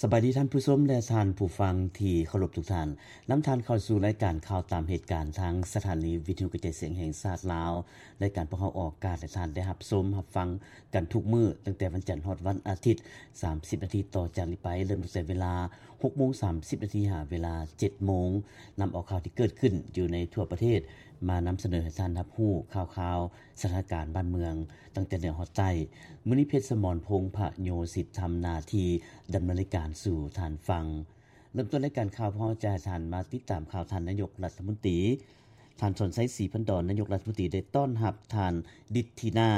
ສະບາຍດີທ່ານຜູ້ຊົມ ແລະ ທ່ານຜູ້ຟັງທີ່ເຄົາລົບທຸກທ່ານ. ນຳທ່ານເຂົ້າສູ່ລາຍການຂ່າວຕາມເຫດການ ທາງສະຖານີວິທະຍຸກະຈາຍສຽງແຫ່ງຊາດລາວ. ລາຍການພວກເຮົາອອກອາກາດໃຫ້ທ່ານໄດ້ຮັບຊົມຮັບຟັງກັນທຸກມື້, ຕັ້ງແຕ່ວັນຈັນຮອດວັນອາທິດ, ສາມສິບນາທີຕໍ່ຈາກນີ້ໄປ, ເລີ່ມຕັ້ງແຕ່ເວລາຫົກໂມງສາມສິບນາທີ ຫາເວລາເຈັດໂມງ, ນຳເອົາຂ່າວທີ່ເກີດຂຶ້ນຢູ່ໃນທົ່ວປະເທດ ມານຳສະເໜີໃຫ້ທ່ານຮັບຮູ້ຂ່າວຄາວ ສະຖານະການບ້ານເມືອງ ຕັ້ງແຕ່ເໜືອຮອດໃຕ້. ມື້ນີ້ ເພັດສະໝອນ ພົງພະໂຍສິດ ທຳໜ້າທີ່ດຳເນີນລາຍການສູ່ທ່ານຟັງ. ເລີ່ມຕົ້ນລາຍການຂ່າວ, ພວກເຮົາຈະໃຫ້ທ່ານມາຕິດຕາມຂ່າວ ທ່ານນາຍົກລັດຖະມົນຕີ ທ່ານ ສອນໄຊ ສີພັນດອນ ນາຍົກລັດຖະມົນຕີ ໄດ້ຕ້ອນຮັບທ່ານ ດິດທິນາ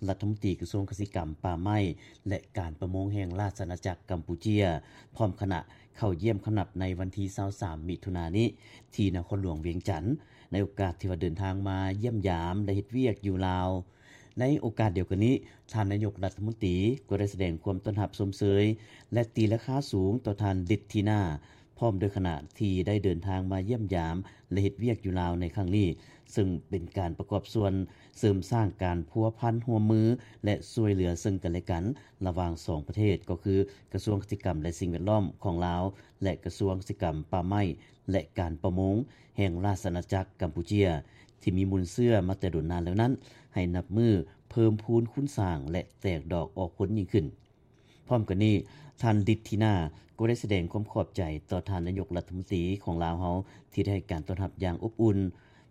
ລັດຖະມົນຕີກະຊວງກະສິກຳ, ປ່າໄມ້ ແລະ ການປະມົງ ແຫ່ງລາຊະອານາຈັກກຳປູເຈຍ ພ້ອມຄະນະ ເຂົ້າຢ້ຽມຄຳນັບໃນວັນທີຊາວສາມ ມິຖຸນານີ້ ທີ່ນະຄອນຫຼວງວຽງຈັນ ໃນໂອກາດທີ່ວ່າເດີນທາງມາຢ້ຽມຢາມ ແລະ ເຮັດວຽກຢູ່ລາວ. ໃນໂອກາດດຽວກັນນີ້, ທ່ານນາຍົກລັດຖະມົນຕີກໍໄດ້ສະແດງຄວາມຕ້ອນຮັບຊົມເຊີຍ ແລະ ຕີລາຄາສູງຕໍ່ທ່ານ ດິດທິນາ ພ້ອມດ້ວຍຄະນະທີ່ໄດ້ເດີນທາງມາຢ້ຽມຢາມ ແລະ ເຮັດວຽກຢູ່ລາວໃນຄັ້ງນີ້, ເຊິ່ງເປັນການປະກອບສ່ວນເສີມສ້າງການພົວພັນຮ່ວມມື ແລະ ຊ່ວຍເຫຼືອເຊິ່ງກັນແລະກັນ ລະຫວ່າງສອງປະເທດ, ກໍຄືກະຊວງກະສິກຳ ແລະ ສິ່ງແວດລ້ອມຂອງລາວ ແລະ ກະຊວງກະສິກຳ, ປ່າໄມ້ ແລະ ການປະມົງ ແຫ່ງລາຊະອານາຈັກກຳປູເຈຍ ທີ່ມີມູນເຊື້ອມາແຕ່ດົນນານແລ້ວນັ້ນ ໃຫ້ນັບມື້ເພີ່ມພູນຄູນສ້າງ ແລະ ແຕກດອກອອກຜົນຍິ່ງຂຶ້ນ. ພ້ອມກັນນີ້, ທ່ານ ດິດທິນາ ກໍໄດ້ສະແດງຄວາມຂອບໃຈຕໍ່ທ່ານນາຍົກລັດຖະມົນຕີຂອງລາວເຮົາ ທີ່ໄດ້ໃຫ້ການຕ້ອນຮັບຢ່າງອົບອຸ່ນ,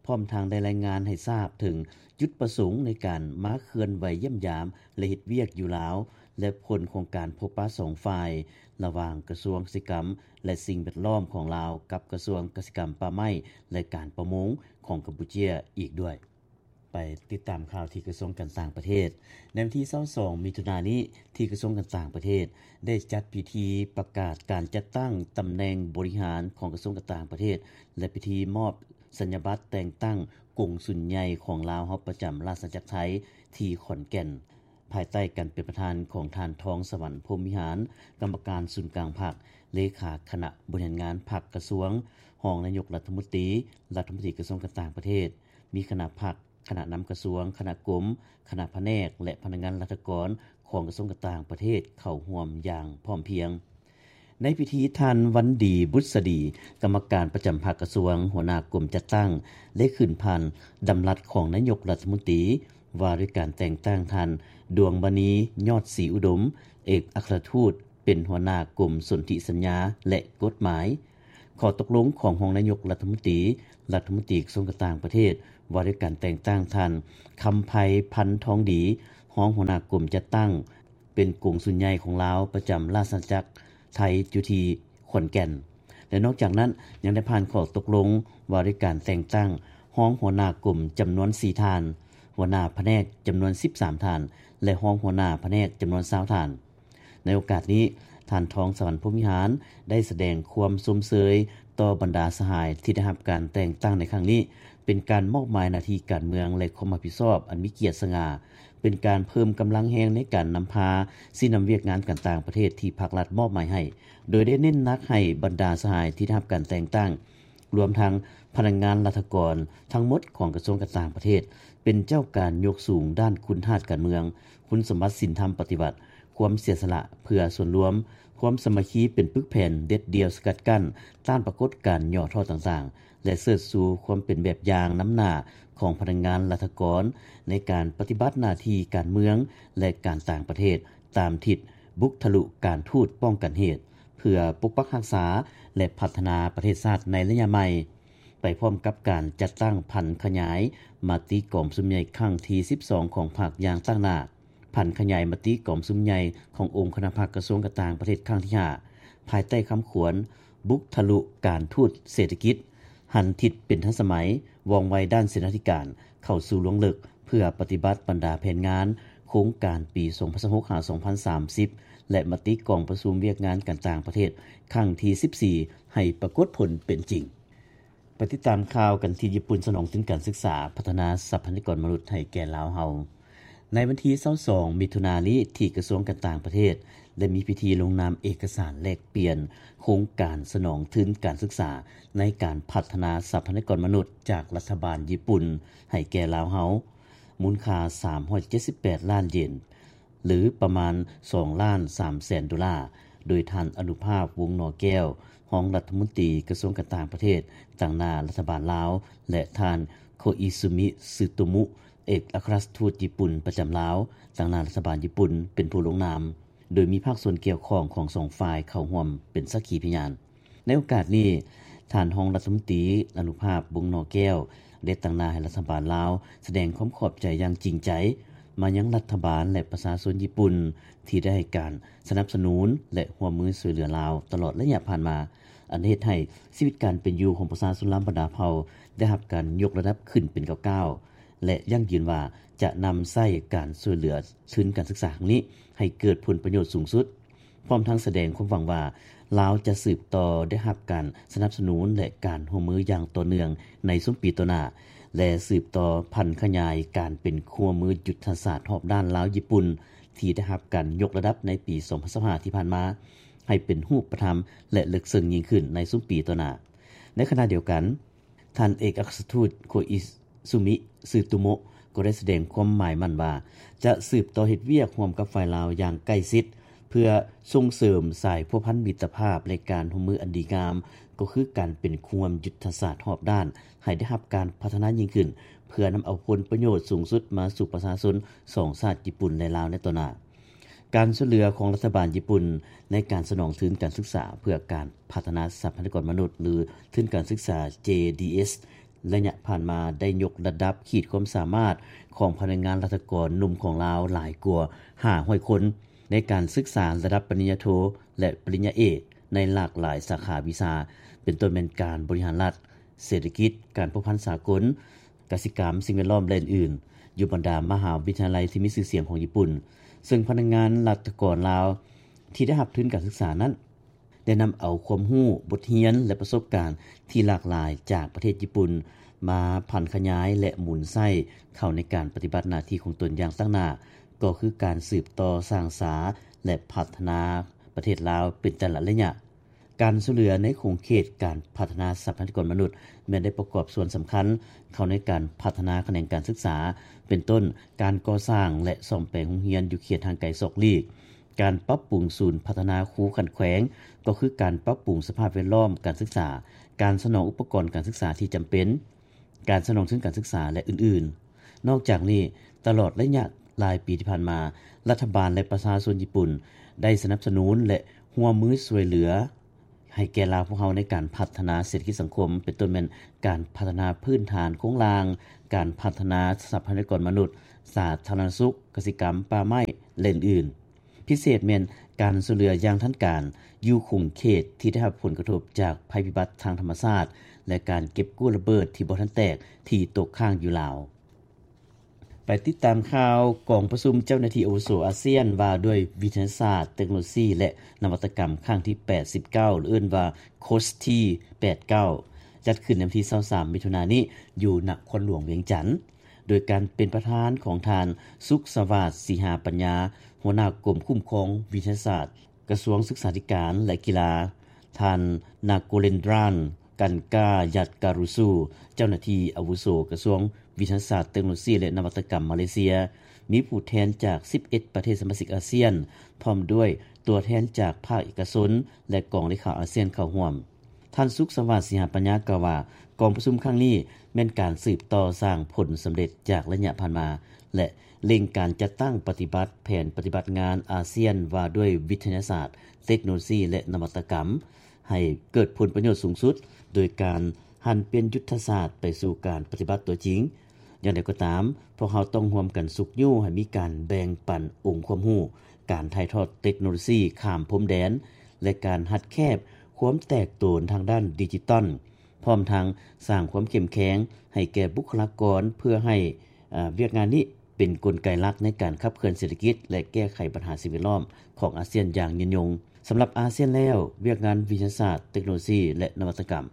ພ້ອມທັງໄດ້ລາຍງານໃຫ້ຊາບເຖິງຈຸດປະສົງໃນການມາເຄື່ອນໄຫວຢ້ຽມຢາມ ແລະ ເຮັດວຽກຢູ່ລາວ ແລະ ຜົນຂອງການພົບປະສອງຝ່າຍ ລະຫວ່າງກະຊວງກະສິກຳ ແລະ ສິ່ງແວດລ້ອມຂອງລາວ ກັບກະຊວງກະສິກຳ, ປ່າໄມ້ ແລະ ການປະມົງຂອງກຳປູເຈຍອີກດ້ວຍ. ໄປຕິດຕາມຂ່າວທີ່ກະຊວງການຕ່າງປະເທດ. ໃນວັນທີຊາວສອງ ມິຖຸນານີ້, ທີ່ກະຊວງການຕ່າງປະເທດ ໄດ້ຈັດພິທີປະກາດການຈັດຕັ້ງຕຳແໜ່ງບໍລິຫານຂອງກະຊວງການຕ່າງປະເທດ ແລະ ພິທີມອບສັນຍາບັດແຕ່ງຕັ້ງກົງສຸນໃຫຍ່ຂອງລາວເຮົາປະຈຳລາຊະອານາຈັກໄທທີ່ຂອນແກ່ນ, ພາຍໃຕ້ການເປັນປະທານຂອງທ່ານ ທອງສະຫວັນ ພົມວິຫານ ກຳມະການສູນກາງພັກ, ເລຂາຄະນະບໍລິຫານງານພັກກະຊວງ, ຮອງນາຍົກລັດຖະມົນຕີ, ລັດຖະມົນຕີກະຊວງການຕ່າງປະເທດ, ມີຄະນະພັກ, ຄະນະນຳກະຊວງ, ຄະນະກົມ, ຄະນະພະແນກ ແລະ ພະນັກງານລັດຖະກອນຂອງກະຊວງການຕ່າງປະເທດເຂົ້າຮ່ວມຢ່າງພ້ອມພຽງ. ໃນພິທີ, ທ່ານ ວັນດີ ບຸດສະດີ ກຳມະການປະຈຳພັກກະຊວງ, ຫົວໜ້າກົມຈັດຕັ້ງ ໄດ້ຂຶ້ນຜ່ານດຳລັດຂອງນາຍົກລັດຖະມົນຕີ ວ່າດ້ວຍການແຕ່ງຕັ້ງທ່ານ ດວງມະນີ ຍອດສີອຸດົມ ເອກອັກຄະລັດທູດ ເປັນຫົວໜ້າກົມສົນທິສັນຍາ ແລະ ກົດໝາຍ. ຂໍ້ຕົກລົງຂອງຮອງນາຍົກລັດຖະມົນຕີ, ລັດຖະມົນຕີກະຊວງການຕ່າງປະເທດ ວ່າດ້ວຍການແຕ່ງຕັ້ງທ່ານ ຄຳໄພ ພັນທອງດີ ຮອງຫົວໜ້າກົມຈັດຕັ້ງ ເປັນກົງສຸນໃຫຍ່ຂອງລາວປະຈຳລາຊະອານາຈັກໄທຢູ່ທີ່ຂອນແກ່ນ ແລະ ນອກຈາກນັ້ນ ຍັງໄດ້ຜ່ານຂໍ້ຕົກລົງວ່າດ້ວຍການແຕ່ງຕັ້ງຮອງຫົວໜ້າກົມຈຳນວນສີ່ທ່ານ, ຫົວໜ້າພະແນກຈຳນວນສິບສາມທ່ານ ແລະ ຮອງຫົວໜ້າພະແນກຈຳນວນຊາວທ່ານ. ໃນໂອກາດນີ້, ທ່ານ ທອງສະຫວັນ ພົມວິຫານ ໄດ້ສະແດງຄວາມຊົມເຊີຍຕໍ່ບັນດາສະຫາຍທີ່ໄດ້ຮັບການແຕ່ງຕັ້ງໃນຄັ້ງນີ້ ເປັນການມອບໝາຍໜ້າທີ່ການເມືອງ ແລະ ຄວາມຮັບຜິດຊອບອັນມີກຽດສະຫງ່າ, ເປັນການເພີ່ມກຳລັງແຮງໃນການນຳພາຊີ້ນຳວຽກງານການຕ່າງປະເທດທີ່ພັກລັດມອບໝາຍໃຫ້, ໂດຍໄດ້ເນັ້ນໜັກໃຫ້ບັນດາສະຫາຍທີ່ໄດ້ຮັບການແຕ່ງຕັ້ງ ລວມທັງພະນັກງານລັດຖະກອນທັງໝົດຂອງກະຊວງການຕ່າງປະເທດ ເປັນເຈົ້າການຍົກສູງດ້ານຄຸນທາດການເມືອງ, ຄຸນສົມບັດສິນທຳປະຕິວັດ, ຄວາມເສຍສະຫຼະເພື່ອສ່ວນລວມ, ຄວາມສາມັກຄີເປັນປຶກແຜ່ນເດັດດ່ຽວສະກັດກັ້ນຕ້ານປາກົດການຫຍໍ້ທໍ້ຕ່າງໆ ແລະ ເຊີດຊູຄວາມເປັນແບບຢ່າງນຳໜ້າຂອງພະນັກງານລັດຖະກອນໃນການປະຕິບັດໜ້າທີ່ການເມືອງ ແລະ ການຕ່າງປະເທດ ຕາມທິດບຸກທະລຸການທູດປ້ອງກັນເຫດ ເພື່ອປົກປັກຮັກສາ ແລະ ພັດທະນາປະເທດຊາດໃນໄລຍະໃໝ່, ໄປພ້ອມກັບການຈັດຕັ້ງຜັນຂະຫຍາຍມະຕິກອງປະຊຸມໃຫຍ່ຄັ້ງທີສິບສອງຂອງພັກຢ່າງຕັ້ງໜ້າ, ຜັນຂະຫຍາຍມະຕິກອງປະຊຸມໃຫຍ່ຂອງອົງຄະນະພັກກະຊວງການຕ່າງປະເທດຄັ້ງທີຫ້າ ພາຍໃຕ້ຄຳຂວັນ ບຸກທະລຸການທູດເສດຖະກິດ, ຫັນທິດເປັນທັນສະໄໝ, ວ່ອງໄວດ້ານເສນາທິການ, ເຂົ້າສູ່ລວງເລິກ ເພື່ອປະຕິບັດບັນດາແຜນງານໂຄງການປີສອງພັນຊາວຫົກ ຫາ ສອງພັນສາມສິບ ແລະ ມະຕິກອງປະຊຸມວຽກງານການຕ່າງປະເທດຄັ້ງທີສິບສີ່ ໃຫ້ປາກົດຜົນເປັນຈິງ. ໄປຕິດຕາມຂ່າວກັນທີ່ຍີ່ປຸ່ນ ສະໜອງທຶນການສຶກສາ ພັດທະນາຊັບພະຍາກອນມະນຸດໃຫ້ແກ່ລາວເຮົາ. ໃນວັນທີຊາວສອງ ມິຖຸນານີ້ ທີ່ກະຊວງການຕ່າງປະເທດ ໄດ້ມີພິທີລົງນາມເອກະສານແລກປ່ຽນໂຄງການສະໜອງທຶນການສຶກສາ ໃນການພັດທະນາຊັບພະຍາກອນມະນຸດຈາກລັດຖະບານຍີ່ປຸ່ນໃຫ້ແກ່ລາວເຮົາ ມູນຄ່າສາມຮ້ອຍເຈັດສິບແປດລ້ານເຢນ ຫຼື ປະມານສອງລ້ານສາມແສນໂດລາ, ໂດຍທ່ານ ອະນຸພາບ ວົງໜໍແກ້ວ ຮອງລັດຖະມົນຕີກະຊວງການຕ່າງປະເທດ ຕາງໜ້າລັດຖະບານລາວ ແລະ ທ່ານ ໂຄອິຊູມິ ຊຶໂຕມຸ ເອກອັຄຣາຊທູດຍີ່ປຸ່ນປະຈຳລາວ ຕາງໜ້າລັດຖະບານຍີ່ປຸ່ນ ເປັນຜູ້ລົງນາມ, ໂດຍມີພາກສ່ວນກ່ຽວຂ້ອງຂອງສອງຝ່າຍເຂົ້າຮ່ວມເປັນສັກຂີພະຍານ. ໃນໂອກາດນີ້, ທ່ານຮອງລັດຖະມົນຕີ ອະນຸພາບ ວົງໜໍແກ້ວ ໄດ້ຕາງໜ້າໃຫ້ລັດຖະບານລາວ ສະແດງຄວາມຂອບໃຈຢ່າງຈິງໃຈ ມາຍັງລັດຖະບານ ແລະ ປະຊາຊົນຍີ່ປຸ່ນ ທີ່ໄດ້ໃຫ້ການສະໜັບສະໜູນ ແລະ ຮ່ວມມືຊ່ວຍເຫຼືອລາວຕະຫຼອດໄລຍະຜ່ານມາ, ອັນເຮັດໃຫ້ຊີວິດການເປັນຢູ່ຂອງປະຊາຊົນລາວບັນດາເຜົ່າ ໄດ້ຮັບການຍົກລະດັບຂຶ້ນເປັນກ້າວໆ ແລະ ຢັ້ງຢືນວ່າຈະນຳໃຊ້ການຊ່ວຍເຫຼືອທຶນການສຶກສາຄັ້ງນີ້ ໃຫ້ເກີດຜົນປະໂຫຍດສູງສຸດ. ພ້ອມທັງສະແດງຄວາມຫວັງວ່າ ລາວຈະສືບຕໍ່ໄດ້ຮັບການສະໜັບສະໜູນ ແລະ ການຮ່ວມມືຢ່າງຕໍ່ເນື່ອງໃນຊຸມປີຕໍ່ໜ້າ ແລະ ສືບຕໍ່ຜັນຂະຫຍາຍການເປັນຄູ່ຮ່ວມມືຍຸດທະສາດຮອບດ້ານລາວຍີ່ປຸ່ນ ທີ່ໄດ້ຮັບການຍົກລະດັບໃນປີສອງພັນຊາວຫ້າທີ່ຜ່ານມາ ໃຫ້ເປັນຮູບປະທຳ ແລະ ເລິກເຊິ່ງຍິ່ງຂຶ້ນໃນຊຸມປີຕໍ່ໜ້າ. ໃນຂະນະດຽວກັນ, ທ່ານເອກອັຄຣາຊທູດ ໂຄອິຊູມິ ຊຶໂຕມຸ ກໍໄດ້ສະແດງຄວາມໝາຍໝັ້ນວ່າ ຈະສືບຕໍ່ເຮັດວຽກຮ່ວມກັບຝ່າຍລາວຢ່າງໃກ້ຊິດ ເພື່ອສົ່ງເສີມສາຍພົວພັນມິດຕະພາບ ແລະ ການຮ່ວມມືອັນດີງາມ ກໍຄືການເປັນຄູ່ຮ່ວມຍຸດທະສາດຮອບດ້ານ ໃຫ້ໄດ້ຮັບການພັດທະນາຍິ່ງຂຶ້ນ ເພື່ອນຳເອົາຜົນປະໂຫຍດສູງສຸດມາສູ່ປະຊາຊົນສອງຊາດຍີ່ປຸ່ນ ແລະ ລາວໃນຕໍ່ໜ້າ. ການຊ່ວຍເຫຼືອຂອງລັດຖະບານຍີ່ປຸ່ນໃນການສະໜອງທຶນການສຶກສາເພື່ອການພັດທະນາຊັບພະຍາກອນມະນຸດ ຫຼື ທຶນການສຶກສາ ເຈດີເອສ ໄລຍະຜ່ານມາໄດ້ຍົກລະດັບຂີດຄວາມສາມາດຂອງພະນັກງານລັດຖະກອນໜຸ່ມຂອງລາວຫຼາຍກວ່າຫ້າຮ້ອຍຄົນ ໃນການສຶກສາລະດັບປະລິນຍາໂທ ແລະ ປະລິນຍາເອກ ໃນຫຼາກຫຼາຍສາຂາວິຊາ ເປັນຕົ້ນແມ່ນການບໍລິຫານລັດ, ເສດຖະກິດ, ການພົວພັນສາກົນ, ກະສິກຳ, ສິ່ງແວດລ້ອມ ແລະ ອື່ນໆ ຢູ່ບັນດາມະຫາວິທະຍາໄລທີ່ມີຊື່ສຽງຂອງຍີ່ປຸ່ນ, ເຊິ່ງພະນັກງານລັດຖະກອນລາວທີ່ໄດ້ຮັບທຶນການສຶກສານັ້ນ ໄດ້ນຳເອົາຄວາມຮູ້, ບົດຮຽນ ແລະ ປະສົບການທີ່ຫຼາກຫຼາຍຈາກປະເທດຍີ່ປຸ່ນ ມາຜັນຂະຫຍາຍ ແລະ ໝູນໃຊ້ເຂົ້າໃນການປະຕິບັດໜ້າທີ່ຂອງຕົນຢ່າງຕັ້ງໜ້າ, ກໍຄືການສືບຕໍ່ສ້າງສາ ແລະ ພັດທະນາປະເທດລາວເປັນແຕ່ລະໄລຍະ. ການຊ່ວຍເຫຼືອໃນຂົງເຂດການພັດທະນາຊັບພະຍາກອນມະນຸດ ແມ່ນໄດ້ປະກອບສ່ວນສຳຄັນເຂົ້າໃນການພັດທະນາຂະແໜງການສຶກສາ, ເປັນຕົ້ນ ການກໍ່ສ້າງ ແລະ ສ້ອມແປງໂຮງຮຽນຢູ່ເຂດຫ່າງໄກສອກຫຼີກ, ການປັບປຸງສູນພັດທະນາຄູຂັ້ນແຂວງ, ກໍຄືການປັບປຸງສະພາບແວດລ້ອມການສຶກສາ, ການສະໜອງອຸປະກອນການສຶກສາທີ່ຈຳເປັນ, ການສະໜອງທຶນການສຶກສາ ແລະ ອື່ນໆ. ນອກຈາກນີ້, ຕະຫຼອດໄລຍະຫຼາຍປີທີ່ຜ່ານມາ, ລັດຖະບານ ແລະ ປະຊາຊົນຍີ່ປຸ່ນ ໄດ້ສະໜັບສະໜູນ ແລະ ຮ່ວມມືຊ່ວຍເຫຼືອ ໃຫ້ແກ່ລາວພວກເຮົາໃນການພັດທະນາເສດຖະກິດສັງຄົມ, ເປັນຕົ້ນແມ່ນການພັດທະນາພື້ນຖານໂຄງລ່າງ, ການພັດທະນາຊັບພະຍາກອນມະນຸດ, ສາທາລະນະສຸກ, ກະສິກຳ, ປ່າໄມ້ ແລະ ອື່ນໆ. ພິເສດແມ່ນການຊ່ວຍເຫຼືອຢ່າງທັນການ ຢູ່ຂົງເຂດທີ່ໄດ້ຮັບຜົນກະທົບຈາກໄພພິບັດທາງທຳມະຊາດ ແລະ ການເກັບກູ້ລະເບີດທີ່ບໍ່ທັນແຕກທີ່ຕົກຄ້າງຢູ່ລາວ. ໄປຕິດຕາມຂ່າວ ກອງປະຊຸມເຈົ້າໜ້າທີ່ອາວຸໂສອາຊຽນວ່າດ້ວຍວິທະຍາສາດ, ເຕັກໂນໂລຊີ ແລະ ນະວັດຕະກຳ ຄັ້ງທີ ແປດສິບເກົ້າ ຫຼື ເອີ້ນວ່າ ໂຄສ ທີ ແປດເກົ້າ ຈັດຂຶ້ນໃນວັນທີ ຊາວສາມ ມິຖຸນານີ້ ຢູ່ນະຄອນຫຼວງວຽງຈັນ ໂດຍການເປັນປະທານຂອງທ່ານ ສຸກສະຫວາດ ສີຫາປັນຍາ ຫົວໜ້າກົມຄຸ້ມຄອງວິທະຍາສາດ ກະຊວງສຶກສາທິການ ແລະ ກິລາ, ທ່ານ ນາໂກເລນດຣານ ກັນກາຍັດກາຣູຊູ ເຈົ້າໜ້າທີ່ອາວຸໂສກະຊວງວິທະຍາສາດ, ເຕັກໂນໂລຊີ ແລະ ນະວັດຕະກຳມາເລເຊຍ, ມີຜູ້ແທນຈາກ ສິບເອັດ ປະເທດສະມາຊິກອາຊຽນ ພ້ອມດ້ວຍຕົວແທນຈາກພາກເອກະຊົນ ແລະ ກອງເລຂາອາຊຽນເຂົ້າຮ່ວມ. ທ່ານ ສຸກສະຫວາດ ສີຫາປັນຍາ ກ່າວວ່າ ກອງປະຊຸມຄັ້ງນີ້ແມ່ນການສືບຕໍ່ສ້າງຜົນສຳເລັດຈາກໄລຍະຜ່ານມາ ແລະ ເລັ່ງການຈັດຕັ້ງປະຕິບັດແຜນປະຕິບັດງານອາຊຽນວ່າດ້ວຍວິທະຍາສາດ, ເຕັກໂນໂລຊີ ແລະ ນະວັດຕະກຳ ໃຫ້ເກີດຜົນປະໂຫຍດສູງສຸດ ໂດຍການຫັນປ່ຽນຍຸດທະສາດໄປສູ່ການປະຕິບັດຕົວຈິງ. ຢ່າງໃດກໍຕາມ, ພວກເຮົາຕ້ອງຮ່ວມກັນຊຸກຍູ້ໃຫ້ມີການແບ່ງປັນອົງຄວາມຮູ້, ການຖ່າຍທອດເຕັກໂນໂລຊີຂ້າມພົມແດນ ແລະ ການຮັດແຄບຄວາມແຕກໂຕນທາງດ້ານດິຈິຕອນ, ພ້ອມທັງສ້າງຄວາມເຂັ້ມແຂງໃຫ້ແກ່ບຸກຄະລາກອນ ເພື່ອໃຫ້ ອາ ວຽກງານນີ້ເປັນກົນໄກຫຼັກໃນການຂັບເຄື່ອນເສດຖະກິດ ແລະ ແກ້ໄຂບັນຫາສິ່ງແວດລ້ອມຂອງອາຊຽນຢ່າງຍືນຍົງ. ສຳລັບອາຊຽນແລ້ວ, ວຽກງານວິທະຍາສາດ, ເຕັກໂນໂລຊີ ແລະ ນະວັດຕະກຳ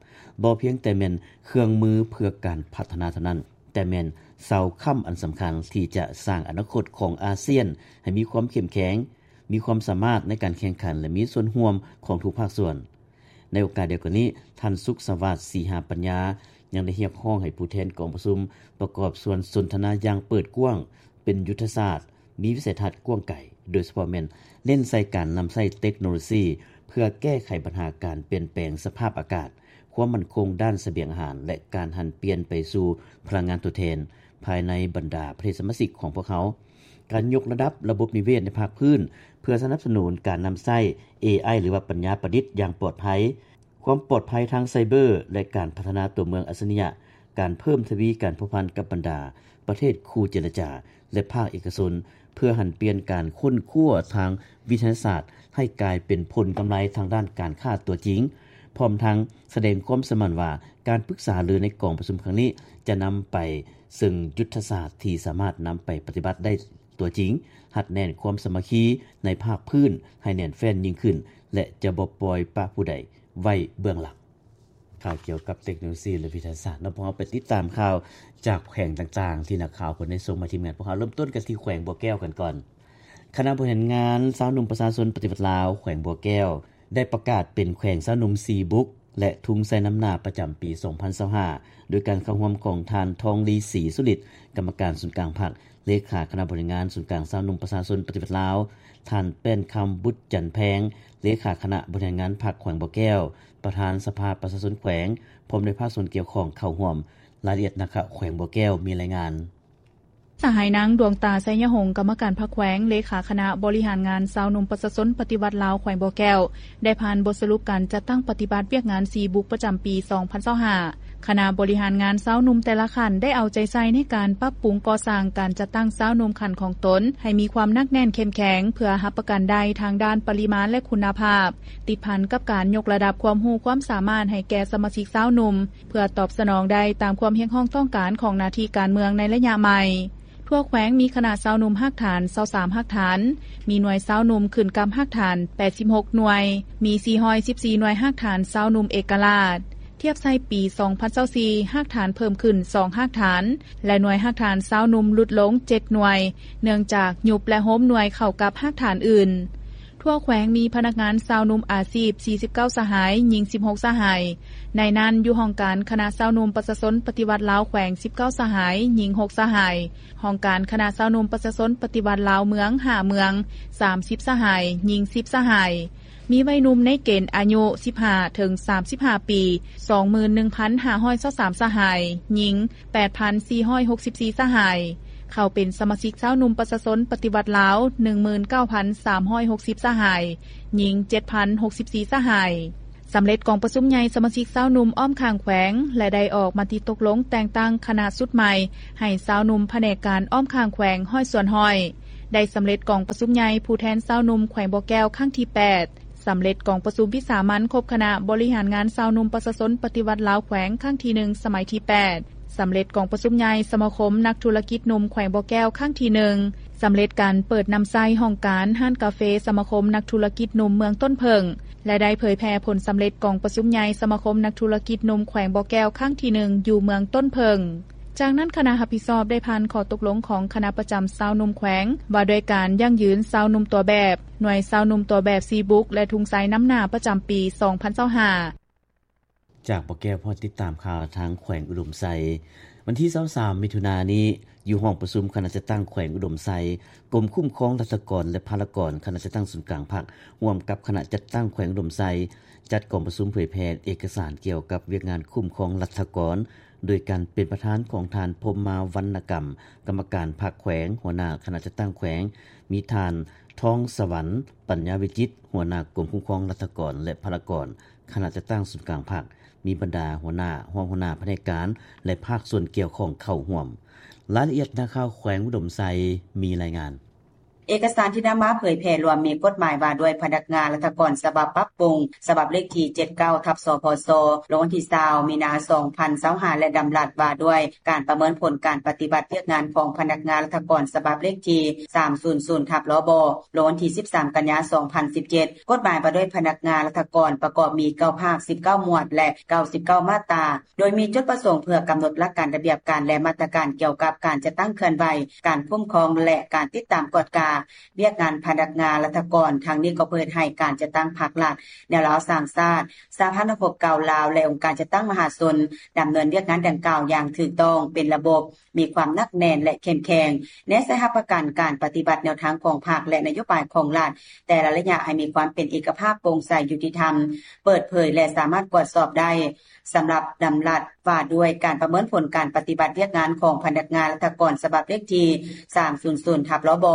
ບໍ່ພຽງແຕ່ແມ່ນເຄື່ອງມືເພື່ອການພັດທະນາເທົ່ານັ້ນ, ແຕ່ແມ່ນເສົາຄ້ຳອັນສຳຄັນທີ່ຈະສ້າງອະນາຄົດຂອງອາຊຽນໃຫ້ມີຄວາມເຂັ້ມແຂງ, ມີຄວາມສາມາດໃນການແຂ່ງຂັນ ແລະ ມີສ່ວນຮ່ວມຂອງທຸກພາກສ່ວນ. ໃນໂອກາດດຽວກັນນີ້, ທ່ານ ສຸກສະຫວາດ ສີຫາປັນຍາ ຍັງໄດ້ຮຽກຮ້ອງໃຫ້ຜູ້ແທນກອງປະຊຸມປະກອບສ່ວນສົນທະນາຢ່າງເປີດກວ້າງ, ເປັນຍຸດທະສາດ, ມີວິໄສທັດກວ້າງໄກ, ໂດຍສະເພາະແມ່ນເນັ້ນໃສ່ການນຳໃຊ້ເຕັກໂນໂລຊີ ເພື່ອແກ້ໄຂບັນຫາການປ່ຽນແປງສະພາບອາກາດ, ຄວາມໝັ້ນຄົງດ້ານສະບຽງອາຫານ ແລະ ການຫັນປ່ຽນໄປສູ່ພະລັງງານທົດແທນ ພາຍໃນບັນດາປະເທດສະມາຊິກຂອງພວກເຮົາ, ການຍົກລະດັບລະບົບນິເວດໃນພາກພື້ນ ເພື່ອສະໜັບສະໜູນການນຳໃຊ້ ເອໄອ ຫຼືວ່າປັນຍາປະດິດຢ່າງປອດໄພ, ຄວາມປອດໄພທາງໄຊເບີ ແລະ ການພັດທະນາຕົວເມືອງອັດສະລິຍະ, ການເພີ່ມທະວີການພົວພັນກັບບັນດາປະເທດຄູ່ເຈລະຈາ ແລະ ພາກເອກະຊົນ ເພື່ອຫັນປ່ຽນການຄົ້ນຄວ້າທາງວິທະຍາສາດ ໃຫ້ກາຍເປັນຜົນກຳໄລທາງດ້ານການຄ້າຕົວຈິງ, ພ້ອມທັງສະແດງຄວາມສະໝັ້ນວ່າ ການປຶກສາຫາລືໃນກອງປະຊຸມຄັ້ງນີ້ ຈະນຳໄປເຊິ່ງຍຸດທະສາດທີ່ສາມາດນຳໄປປະຕິບັດໄດ້ຕົວຈິງ, ຮັດແໜ້ນຄວາມສາມັກຄີໃນພາກພື້ນໃຫ້ແໜ້ນແຟ້ນຍິ່ງຂຶ້ນ ແລະ ຈະບໍ່ປ່ອຍປະຜູ້ໃດໄວ້ເບື້ອງຫຼັງ. ຂ່າວກ່ຽວກັບເຕັກໂນໂລຊີ ແລະ ວິທະຍາສາດເນາະ, ພວກເຮົາໄປຕິດຕາມຂ່າວຈາກແຂວງຕ່າງໆ ທີ່ນັກຂ່າວເພິ່ນໄດ້ສົ່ງມາທີມງານພວກເຮົາ. ເລີ່ມຕົ້ນກັນທີ່ແຂວງບໍ່ແກ້ວກັນກ່ອນ. ຄະນະບໍລິຫານງານຊາວໜຸ່ມປະຊາຊົນປະຕິວັດລາວແຂວງບໍ່ແກ້ວ ໄດ້ປະກາດເປັນແຂວງຊາວໜຸ່ມສີ່ບຸກ ແລະ ທຸງໄຊນຳໜ້າປະຈຳປີສອງພັນຊາວຫ້າ ໂດຍການເຂົ້າຮ່ວມຂອງທ່ານ ທອງລີ ສີສຸລິດ ກຳມະການສູນກາງພັກ, ເລຂາຄະນະບໍລິຫານງານສູນກາງຊາວໜຸ່ມປະຊາຊົນປະຕິວັດລາວ, ທ່ານ ແປ້ນຄຳ ບຸດຈັນແພງ ເລຂາຄະນະບໍລິຫານງານພັກແຂວງບໍ່ແກ້ວ, ປະທານສະພາປະຊາຊົນແຂວງ ພ້ອມດ້ວຍພາກສ່ວນກ່ຽວຂ້ອງເຂົ້າຮ່ວມ. ລາຍລະອຽດນັກຂ່າວແຂວງບໍ່ແກ້ວມີລາຍງານ. ສະຫາຍນາງ ດວງຕາ ໄຊຍະຫົງ ກຳມະການພັກແຂວງ ເລຂາຄະນະບໍລິຫານງານຊາວໜຸ່ມປະຊາຊົນປະຕິວັດລາວແຂວງບໍ່ແກ້ວ ໄດ້ຜ່ານບົດສະຫຼຸບການຈັດຕັ້ງປະຕິບັດວຽກງານສີ່ບຸກປະຈຳປີສອງພັນຊາວຫ້າ. ຄະນະບໍລິຫານງານຊາວໜຸ່ມແຕ່ລະຂັ້ນໄດ້ເອົາໃຈໃສ່ໃນການປັບປຸງກໍ່ສ້າງການຈັດຕັ້ງຊາວໜຸ່ມຂັ້ນຂອງຕົນໃຫ້ມີຄວາມໜັກແໜ້ນເຂັ້ມແຂງ ເພື່ອຮັບປະກັນໄດ້ທາງດ້ານປະລິມານ ແລະ ຄຸນນະພາບ ຕິດພັນກັບການຍົກລະດັບຄວາມຮູ້ຄວາມສາມາດໃຫ້ແກ່ສະມາຊິກຊາວໜຸ່ມ ເພື່ອຕອບສະໜອງໄດ້ຕາມຄວາມຮຽກຮ້ອງຕ້ອງການຂອງໜ້າທີ່ການເມືອງໃນໄລຍະໃໝ່. ທົ່ວແຂວງມີຄະນະຊາວໜຸ່ມຮາກຖານຊາວສາມຮາກຖານ, ມີໜ່ວຍຊາວໜຸ່ມຂຶ້ນກັບຮາກຖານແປດສິບຫົກໜ່ວຍ, ມີສີ່ຮ້ອຍສິບສີ່ໜ່ວຍຮາກຖານຊາວໜຸ່ມເອກະລາດ. ທຽບໃສ່ປີສອງພັນຊາວສີ່ ຮາກຖານເພີ່ມຂຶ້ນສອງຮາກຖານ ແລະ ໜ່ວຍຮາກຖານຊາວໜຸ່ມຫຼຸດລົງເຈັດໜ່ວຍ ເນື່ອງຈາກຍຸບ ແລະ ໂຮມໜ່ວຍເຂົ້າກັບຮາກຖານອື່ນ. ທົ່ວແຂວງມີພະນັກງານຊາວໜຸ່ມອາຊີບສີ່ສິບເກົ້າສະຫາຍ, ຍິງສິບຫົກສະຫາຍ. ໃນນັ້ນ, ຢູ່ຫ້ອງການຄະນະຊາວໜຸ່ມປະຊາຊົນປະຕິວັດລາວແຂວງສິບເກົ້າສະຫາຍ, ຍິງຫົກສະຫາຍ, ຫ້ອງການຄະນະຊາວໜຸ່ມປະຊາຊົນປະຕິວັດລາວເມືອງຫ້າເມືອງ, ສາມສິບສະຫາຍ, ຍິງສິບສະຫາຍ. ມີໄວໜຸ່ມໃນເກນອາຍຸສິບຫ້າເຖິງສາມສິບຫ້າປີ, ສອງໝື່ນໜຶ່ງພັນຫ້າຮ້ອຍຊາວສາມສະຫາຍ, ຍິງແປດພັນສີ່ຮ້ອຍຫົກສິບສີ່ສະຫາຍ. ເຂົ້າເປັນສະມາຊິກຊາວໜຸ່ມປະຊາຊົນປະຕິວັດລາວ ໜຶ່ງໝື່ນເກົ້າພັນສາມຮ້ອຍຫົກສິບສະຫາຍ, ຍິງເຈັດພັນຫົກສິບສີ່ສະຫາຍ. ສຳເລັດກອງປະຊຸມໃຫຍ່ສະມາຊິກຊາວໜຸ່ມອ້ອມຂ້າງແຂວງ ແລະ ໄດ້ອອກມະຕິຕົກລົງແຕ່ງຕັ້ງຄະນະຊຸດໃໝ່ ໃຫ້ຊາວໜຸ່ມພະແນກການອ້ອມຂ້າງແຂວງຮ້ອຍສ່ວນຮ້ອຍ. ໄດ້ສຳເລັດກອງປະຊຸມໃຫຍ່ຜູ້ແທນຊາວໜຸ່ມແຂວງບໍ່ແກ້ວຄັ້ງທີແປດ, ສຳເລັດກອງປະຊຸມວິສາມັນຄົບຄະນະບໍລິຫານງານຊາວໜຸ່ມປະຊາຊົນປະຕິວັດລາວແຂວງຄັ້ງທີໜຶ່ງ ສະໄໝທີແປດ, ສຳເລັດກອງປະຊຸມໃຫຍ່ສະມາຄົມນັກທຸລະກິດໜຸ່ມແຂວງບໍ່ແກ້ວຄັ້ງທີໜຶ່ງ, ສຳເລັດການເປີດນຳໃຊ້ຫ້ອງການຮ້ານກາເຟສະມາຄົມນັກທຸລະກິດໜຸ່ມເມືອງຕົ້ນເຜິ້ງ ແລະ ໄດ້ເຜີຍແຜ່ຜົນສຳເລັດກອງປະຊຸມໃຫຍ່ສະມາຄົມນັກທຸລະກິດໜຸ່ມແຂວງບໍ່ແກ້ວຄັ້ງທີໜຶ່ງ ຢູ່ເມືອງຕົ້ນເຜິ້ງ. ຈາກນັ້ນຄະນະຮັບຜິດຊອບໄດ້ຜ່ານຂໍ້ຕົກລົງຂອງຄະນະປະຈຳຊາວໜຸ່ມແຂວງ ວ່າດ້ວຍການຢັ້ງຢືນຊາວໜຸ່ມຕົວແບບ, ໜ່ວຍຊາວໜຸ່ມຕົວແບບສີ່ບຸກ ແລະ ທຸງໄຊນຳໜ້າປະຈຳປີສອງພັນຊາວຫ້າ. ຈາກບໍ່ແກ້ວ ພາຕິດຕາມຂ່າວທາງແຂວງອຸດົມໄຊ. ວັນທີຊາວສາມ ມິຖຸນານີ້, ຢູ່ຫ້ອງປະຊຸມຄະນະຈັດຕັ້ງແຂວງອຸດົມໄຊ, ກົມຄຸ້ມຄອງລັດຖະກອນ ແລະ ພາລະກອນ, ຄະນະຈັດຕັ້ງສູນກາງພັກ ຮ່ວມກັບຄະນະຈັດຕັ້ງແຂວງອຸດົມໄຊ ຈັດກອງປະຊຸມເຜີຍແຜ່ເອກະສານກ່ຽວກັບວຽກງານຄຸ້ມຄອງລັດຖະກອນ ໂດຍການເປັນປະທານຂອງທ່ານ ພົມມາ ວັນນະກຳ ກຳມະການພັກແຂວງ, ຫົວໜ້າຄະນະຈັດຕັ້ງແຂວງ, ມີທ່ານ ທອງສະຫວັນ ປັນຍາວິຈິດ ຫົວໜ້າກົມຄຸ້ມຄອງລັດຖະກອນ ແລະ ພາລະກອນ ຄະນະຈັດຕັ້ງສູນກາງພັກ, ມີບັນດາຫົວໜ້າ, ຮອງຫົວໜ້າພະແນກການ ແລະ ພາກສ່ວນກ່ຽວຂ້ອງເຂົ້າຮ່ວມ. ລາຍລະອຽດ ນັກຂ່າວແຂວງອຸດົມໄຊມີລາຍງານ. ເອກະສານທີ່ນຳມາເຜີຍແຜ່ລວມມີກົດໝາຍວ່າດ້ວຍພະນັກງານລັດຖະກອນ ສະບັບປັບປຸງ, ສະບັບເລກທີ ເຈັດເກົ້າ ທັບ ສພຊ ລົງວັນທີຊາວ ມີນາ ສອງພັນຊາວຫ້າ ແລະ ດຳລັດວ່າດ້ວຍການປະເມີນຜົນການປະຕິບັດວຽກງານຂອງພະນັກງານລັດຖະກອນ ສະບັບເລກທີ ສາມສູນສູນ ທັບ ລບ ລົງວັນທີສິບສາມ ກັນຍາ ສອງພັນສິບເຈັດ. ກົດໝາຍວ່າດ້ວຍພະນັກງານລັດຖະກອນປະກອບມີເກົ້າພາກ ສິບເກົ້າໝວດ ແລະ ເກົ້າສິບເກົ້າມາດຕາ ໂດຍມີຈຸດປະສົງເພື່ອກຳນົດຫຼັກການລະບຽບການ ແລະ ມາດຕະການກ່ຽວກັບການຈັດຕັ້ງເຄື່ອນໄຫວ, ການຄຸ້ມຄອງ ແລະ ການຕິດຕາມກວດກາ ວຽກງານພະນັກງານລັດຖະກອນ. ທັງນີ້ກໍເພື່ອເຮັດໃຫ້ການຈັດຕັ້ງພັກລັດແນວລາວສ້າງຊາດ, ສະຫະພັນນັກຮົບເກົ່າລາວ ແລະ ອົງການຈັດຕັ້ງມະຫາຊົນ ດຳເນີນວຽກງານດັ່ງກ່າວຢ່າງຖືກຕ້ອງ, ເປັນລະບົບ, ມີຄວາມໜັກແໜ້ນ ແລະ ເຂັ້ມແຂງ, ແນໃສ່ຮັບປະກັນການປະຕິບັດແນວທາງຂອງພັກ ແລະ ນະໂຍບາຍຂອງລັດແຕ່ລະໄລຍະໃຫ້ມີຄວາມເປັນເອກະພາບ, ໂປ່ງໃສ, ຍຸຕິທຳ, ເປີດເຜີຍ ແລະ ສາມາດກວດສອບໄດ້. ສຳລັບດຳລັດວ່າດ້ວຍການປະເມີນຜົນການປະຕິບັດວຽກງານຂອງພະນັກງານລັດຖະກອນ ສະບັບເລກທີ ສາມສູນສູນ ທັບ ລບ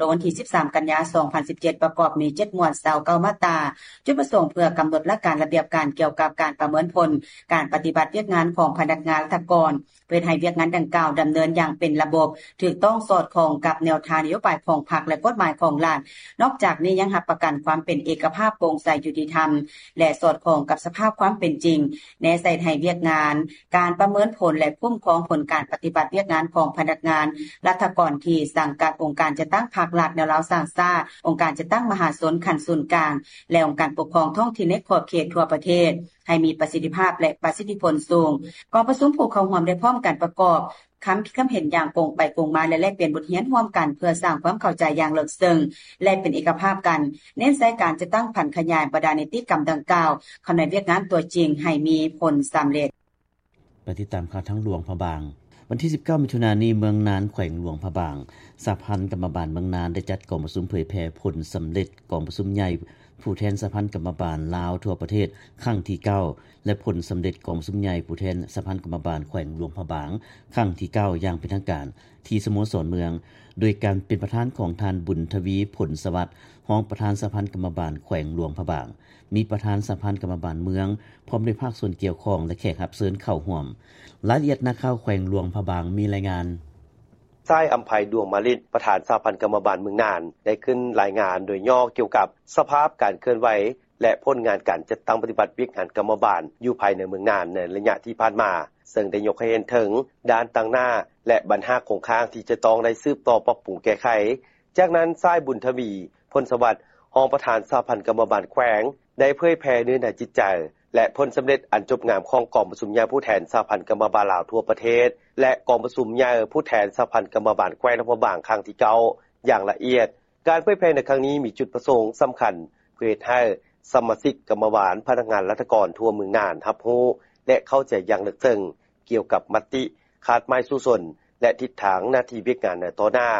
ລົງວັນທີ ສິບສາມ ກັນຍາ ສອງພັນສິບເຈັດ ປະກອບມີ ເຈັດ ໝວດ ຊາວເກົ້າ ມາດຕາ. ຈຸດປະສົງເພື່ອກຳນົດຫຼັກການລະບຽບການກ່ຽວກັບການປະເມີນຜົນການປະຕິບັດວຽກງານຂອງພະນັກງານລັດຖະກອນ ເພື່ອເຮັດໃຫ້ວຽກງານດັ່ງກ່າວດຳເນີນຢ່າງເປັນລະບົບ, ຖືກຕ້ອງ, ສອດຄ່ອງກັບແນວທາງນະໂຍບາຍຂອງພັກ ແລະ ກົດໝາຍຂອງລັດ. ນອກຈາກນີ້ຍັງຮັບປະກັນຄວາມເປັນເອກະພາບ, ໂປ່ງໃສ, ຍຸຕິທຳ ແລະ ສອດຄ່ອງກັບສະພາບຄວາມເປັນຈິງ, ແນໃສ່ເຮັດໃຫ້ວຽກງານການປະເມີນຜົນ ແລະ ຄຸ້ມຄອງຜົນການປະຕິບັດວຽກງານຂອງພະນັກງານລັດຖະກອນທີ່ສັງກັດອົງການຈັດຕັ້ງພັກລັດແນວລາວສ້າງຊາດ, ອົງການຈັດຕັ້ງມະຫາຊົນຂັ້ນສູນກາງ ແລະ ອົງການປົກຄອງທ້ອງຖິ່ນໃນຂອບເຂດທົ່ວປະເທດ ໃຫ້ມີປະສິດທິພາບ ແລະ ປະສິດທິຜົນສູງ. ກອງປະຊຸມຜູ້ເຂົ້າຮ່ວມໄດ້ພ້ອມກັນປະກອບຄຳຄິດຄຳເຫັນຢ່າງກົງໄປກົງມາ ແລະ ແລກປ່ຽນບົດຮຽນຮ່ວມກັນ ເພື່ອສ້າງຄວາມເຂົ້າໃຈຢ່າງເລິກເຊິ່ງ ແລະ ເປັນເອກະພາບກັນ, ເນັ້ນໃສ່ການຈັດຕັ້ງຜັນຂະຫຍາຍບັນດານິຕິກຳດັ່ງກ່າວເຂົ້າໃນວຽກງານຕົວຈິງໃຫ້ມີຜົນສຳເລັດ. ໄປຕິດຕາມຂ່າວທາງຫຼວງພະບາງ. ວັນທີ ສິບເກົ້າ ມິຖຸນານີ້, ເມືອງນານ ແຂວງຫຼວງພະບາງ, ສະຫະພັນກຳມະບານເມືອງນານ ໄດ້ຈັດກອງປະຊຸມເຜີຍແຜ່ຜົນສຳເລັດກອງປະຊຸມໃຫຍ່ຜູ້ແທນສະຫະພັນກຳມະບານລາວທົ່ວປະເທດຄັ້ງທີ ເກົ້າ ແລະ ຜົນສຳເລັດກອງປະຊຸມໃຫຍ່ຜູ້ແທນສະຫະພັນກຳມະບານແຂວງຫຼວງພະບາງຄັ້ງທີ ເກົ້າ ຢ່າງເປັນທາງການທີ່ສະໂມສອນເມືອງ, ໂດຍການເປັນປະທານຂອງທ່ານ ບຸນທະວີ ຜົນສະຫວັດ, ຮອງປະທານສະຫະພັນກຳມະບານແຂວງຫຼວງພະບາງ, ມີປະທານສະຫະພັນກຳມະບານເມືອງ, ພ້ອມດ້ວຍພາກສ່ວນກ່ຽວຂ້ອງ ແລະ ແຂກຮັບເຊີນເຂົ້າຮ່ວມ. ລາຍລະອຽດນັກຂ່າວແຂວງຫຼວງພະບາງມີລາຍງານ. ຊາຍ ອຳໄພ ດວງມາລິດ ປະທານສະຫະພັນກຳມະບານເມືອງນານ ໄດ້ຂຶ້ນລາຍງານໂດຍຫຍໍ້ກ່ຽວກັບສະພາບການເຄື່ອນໄຫວ ແລະ ຜົນງານການຈັດຕັ້ງປະຕິບັດວຽກງານກຳມະບານຢູ່ພາຍໃນເມືອງນານໃນໄລຍະທີ່ຜ່ານມາ, ເຊິ່ງໄດ້ຍົກໃຫ້ເຫັນເຖິງດ້ານຕັ້ງໜ້າ ແລະ ບັນຫາຄົງຄ້າງທີ່ຈະຕ້ອງໄດ້ສືບຕໍ່ປັບປຸງແກ້ໄຂ. ຈາກນັ້ນ ຊາຍ ບຸນທະວີ ຜົນສະຫວັດ ຮອງປະທານສະຫະພັນກຳມະບານແຂວງ ໄດ້ເຜີຍແຜ່ເນື້ອໃນຈິດໃຈ ແລະ ຜົນສຳເລັດອັນຈົບງາມຂອງກອງປະຊຸມໃຫຍ່ຜູ້ແທນສະຫະພັນກຳມະບານລາວທົ່ວປະເທດ ແລະ ກອງປະຊຸມໃຫຍ່ຜູ້ແທນສະຫະພັນກຳມະບານແຂວງຫຼວງພະບາງຄັ້ງທີ ເກົ້າ ຢ່າງລະອຽດ. ການເຜີຍແຜ່ໃນຄັ້ງນີ້ມີຈຸດປະສົງສຳຄັນເພື່ອເຮັດໃຫ້ສະມາຊິກກຳມະບານ, ພະນັກງານລັດຖະກອນທົ່ວເມືອງນານຮັບຮູ້ ແລະ ເຂົ້າໃຈຢ່າງເລິກເຊິ່ງກ່ຽວກັບມະຕິ, ຄາດໝາຍສູ້ຊົນ ແລະ ທິດທາງໜ້າທີ່ວຽກງານໃນຕໍ່ໜ້າ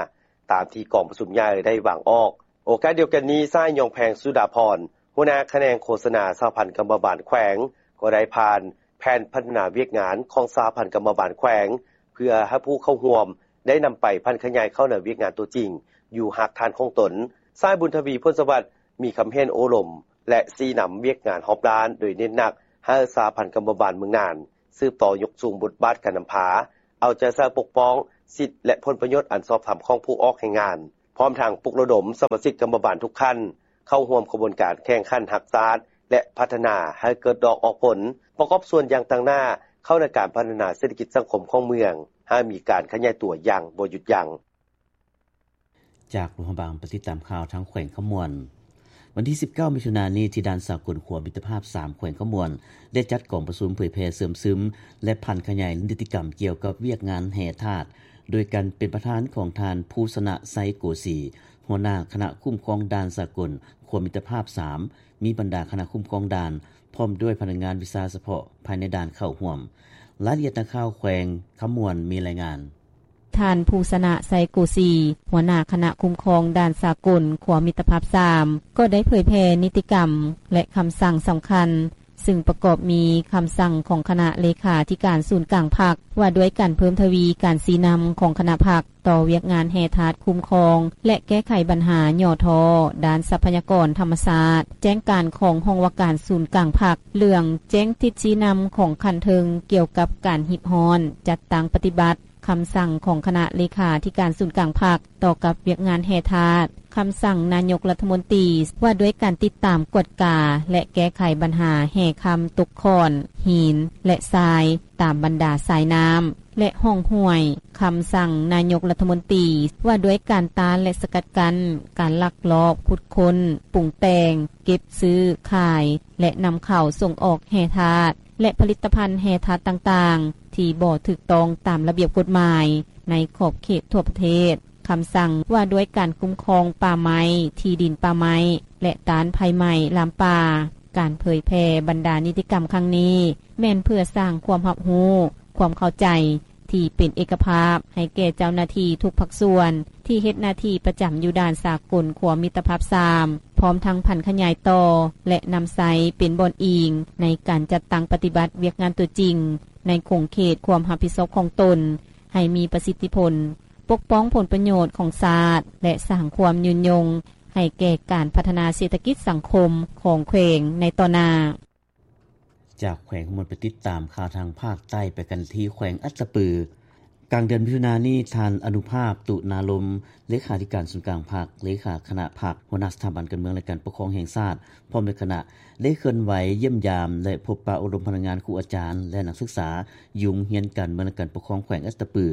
ຕາມທີ່ກອງປະຊຸມໃຫຍ່ໄດ້ວາງອອກ. ໂອກາດດຽວກັນນີ້, ຊາຍ ຍອງແພງ ສຸດາພອນ ຫົວໜ້າຂະແໜງໂຄສະນາສະຫະພັນກຳມະບານແຂວງ ກໍໄດ້ຜ່ານແຜນພັດທະນາວຽກງານຂອງສະຫະພັນກຳມະບານແຂວງ ເພື່ອໃຫ້ຜູ້ເຂົ້າຮ່ວມໄດ້ນຳໄປຜັນຂະຫຍາຍເຂົ້າໃນວຽກງານຕົວຈິງຢູ່ຮາກຖານຂອງຕົນ. ຊາຍ ບຸນທະວີ ຜົນສະຫວັດ ມີຄຳເຫັນໂອ້ລົມ ແລະ ຊີ້ນຳວຽກງານຮອບດ້ານ ໂດຍເນັ້ນໜັກໃຫ້ສະຫະພັນກຳມະບານເມືອງນານ ສືບຕໍ່ຍົກສູງບົດບາດການນຳພາ, ເອົາໃຈໃສ່ປົກປ້ອງສິດ ແລະ ຜົນປະໂຫຍດອັນຊອບທຳຂອງຜູ້ອອກແຮງງານ, ພ້ອມທັງປຸກລະດົມສະມາຊິກກຳມະບານທຸກຂັ້ນເຂົ້າຮ່ວມຂະບວນການແຂ່ງຂັນຮັກຊາດ ແລະ ພັດທະນາໃຫ້ເກີດດອກອອກຜົນ, ປະກອບສ່ວນຢ່າງຕັ້ງໜ້າເຂົ້າໃນການພັດທະນາເສດຖະກິດສັງຄົມຂອງເມືອງ ໃຫ້ມີການຂະຫຍາຍຕົວຢ່າງບໍ່ຢຸດຢັ້ງ. ຈາກຫຼວງພະບາງ ໄປຕິດຕາມຂ່າວທາງແຂວງຄຳມ່ວນ. ວັນທີ ສິບເກົ້າ ມິຖຸນານີ້, ທີ່ດ່ານສາກົນຂົວມິດຕະພາບ ສາມ ແຂວງຄຳມ່ວນ ໄດ້ຈັດກອງປະຊຸມເຜີຍແຜ່ເຊື່ອມຊຶມ ແລະ ຜັນຂະຫຍາຍນິຕິກຳກ່ຽວກັບວຽກງານແຮ່ທາດ ໂດຍການເປັນປະທານຂອງທ່ານ ພູຊະນະ ໄຊໂກສີ, ຫົວໜ້າຄະນະຄຸ້ມຄອງດ່ານສາກົນຂົວມິດຕະພາບ ສາມ, ມີບັນດາຄະນະຄຸ້ມຄອງດ່ານ ພ້ອມດ້ວຍພະນັກງານວິຊາສະເພາະພາຍໃນດ່ານເຂົ້າຮ່ວມ. ລາຍລະອຽດນັກຂ່າວແຂວງຄຳມ່ວນມີລາຍງານ. ທ່ານ ພູຊະນະ ໄຊໂກສີ, ຫົວໜ້າຄະນະຄຸ້ມຄອງດ່ານສາກົນຂົວມິດຕະພາບ ສາມ ກໍໄດ້ເຜີຍແຜ່ນິຕິກຳ ແລະ ຄຳສັ່ງສຳຄັນ ຊຶ່ງປະກອບມີຄຳສັ່ງຂອງຄະນະເລຂາທິການສູນກາງພັກ ວ່າດ້ວຍການເພີ່ມທະວີການຊີ້ນຳຂອງຄະນະພັກຕໍ່ວຽກງານແຮ່ທາດຄຸ້ມຄອງ ແລະ ແກ້ໄຂບັນຫາຫຍໍ້ທໍ້ດ້ານຊັບພະຍາກອນທຳມະຊາດ, ແຈ້ງການຂອງຫ້ອງວ່າການສູນກາງພັກ, ເລື່ອງແຈ້ງທິດຊີ້ນຳຂອງຂັ້ນເທິງກ່ຽວກັບການຮີບຮ້ອນຈັດຕັ້ງປະຕິບັດ ຄຳສັ່ງຂອງຄະນະເລຂາທິການສູນກາງພັກຕໍ່ກັບວຽກງານແຮ່ທາດ, ຄຳສັ່ງນາຍົກລັດຖະມົນຕີວ່າດ້ວຍການຕິດຕາມກວດກາ ແລະ ແກ້ໄຂບັນຫາແຮ່ຄຳຕົກຂອນ, ຫີນ ແລະ ຊາຍຕາມບັນດາສາຍນ້ຳ ແລະ ຮ່ອງຫ້ວຍ, ຄຳສັ່ງນາຍົກລັດຖະມົນຕີວ່າດ້ວຍການຕ້ານ ແລະ ສະກັດກັ້ນການລັກລອບຂຸດຄົ້ນ, ປຸງແຕ່ງ, ເກັບ, ຊື້, ຂາຍ ແລະ ນຳເຂົ້າສົ່ງອອກແຮ່ທາດ ແລະ ຜະລິດຕະພັນແຮ່ທາດຕ່າງໆ ທີ່ບໍ່ຖືກຕ້ອງຕາມລະບຽບກົດໝາຍໃນຂອບເຂດທົ່ວປະເທດ. ຄຳສັ່ງວ່າດ້ວຍການຄຸ້ມຄອງປ່າໄມ້, ທີ່ດິນປ່າໄມ້ ແລະ ຕ້ານໄພໄໝ້ລາມປ່າ. ການເຜີຍແຜ່ບັນດານິຕິກຳຄັ້ງນີ້ ແມ່ນເພື່ອສ້າງຄວາມຮັບຮູ້, ຄວາມເຂົ້າໃຈທີ່ເປັນເອກະພາບໃຫ້ແກ່ເຈົ້າໜ້າທີ່ທຸກພາກສ່ວນ ທີ່ເຮັດໜ້າທີ່ປະຈຳຢູ່ດ່ານສາກົນຂົວມິດຕະພາບສາມ ພ້ອມທັງຜັນຂະຫຍາຍຕໍ່ ແລະ ນຳໃຊ້ເປັນບ່ອນອີງໃນການຈັດຕັ້ງປະຕິບັດວຽກງານຕົວຈິງ ໃນຂົງເຂດຄວາມຮັບຜິດຊອບຂອງຕົນ ໃຫ້ມີປະສິດທິຜົນ, ປົກປ້ອງຜົນປະໂຫຍດຂອງຊາດ ແລະ ສ້າງຄວາມຍືນຍົງໃຫ້ແກ່ການພັດທະນາເສດຖະກິດສັງຄົມຂອງແຂວງໃນຕໍ່ໜ້າ. ຈາກແຂວງ ເຮົາໄປຕິດຕາມຂ່າວທາງພາກໃຕ້ ໄປກັນທີ່ແຂວງອັດຕະປື. ກາງເດືອນມິຖຸນານີ້ ທ່ານ ອະນຸພາບ ຕຸນາລົມ ເລຂາທິການສູນກາງພັກ, ເລຂາຄະນະພັກ, ຫົວໜ້າສະຖາບັນການເມືອງ ແລະ ການປົກຄອງແຫ່ງຊາດ ພ້ອມດ້ວຍຄະນະ ໄດ້ເຄື່ອນໄຫວຢ້ຽມຢາມ ແລະ ພົບປະອົບຮົມພະນັກງານ, ຄູອາຈານ ແລະ ນັກສຶກສາ ຢູ່ໂຮງຮຽນການເມືອງ ແລະ ການປົກຄອງແຂວງອັດຕະປື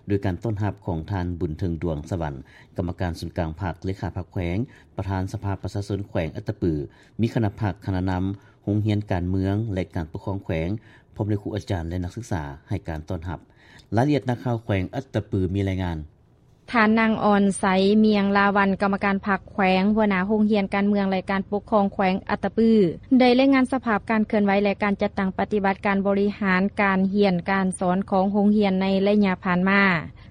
ໂດຍການຕ້ອນຮັບຂອງທ່ານ ບຸນເທິງ ດວງສະຫວັນ ກຳມະການສູນກາງພັກ, ເລຂາພັກແຂວງ, ປະທານສະພາປະຊາຊົນແຂວງອັດຕະປື, ມີຄະນະພັກ, ຄະນະນຳໂຮງຮຽນການເມືອງ ແລະ ການປົກຄອງແຂວງ, ພ້ອມດ້ວຍຄູອາຈານ ແລະ ນັກສຶກສາ ໃຫ້ການຕ້ອນຮັບ. ລາຍລະອຽດ ນັກຂ່າວແຂວງອັດຕະປືມີລາຍງານ. ທ່ານ ນາງ ອອນໄຊ ມຽງລາວັນ ກຳມະການພັກແຂວງ, ຫົວໜ້າໂຮງຮຽນການເມືອງ ແລະ ການປົກຄອງແຂວງອັດຕະປື ໄດ້ລາຍງານສະພາບການເຄື່ອນໄຫວ ແລະ ການຈັດຕັ້ງປະຕິບັດການບໍລິຫານການຮຽນການສອນຂອງໂຮງຮຽນໃນໄລຍະຜ່ານມາ.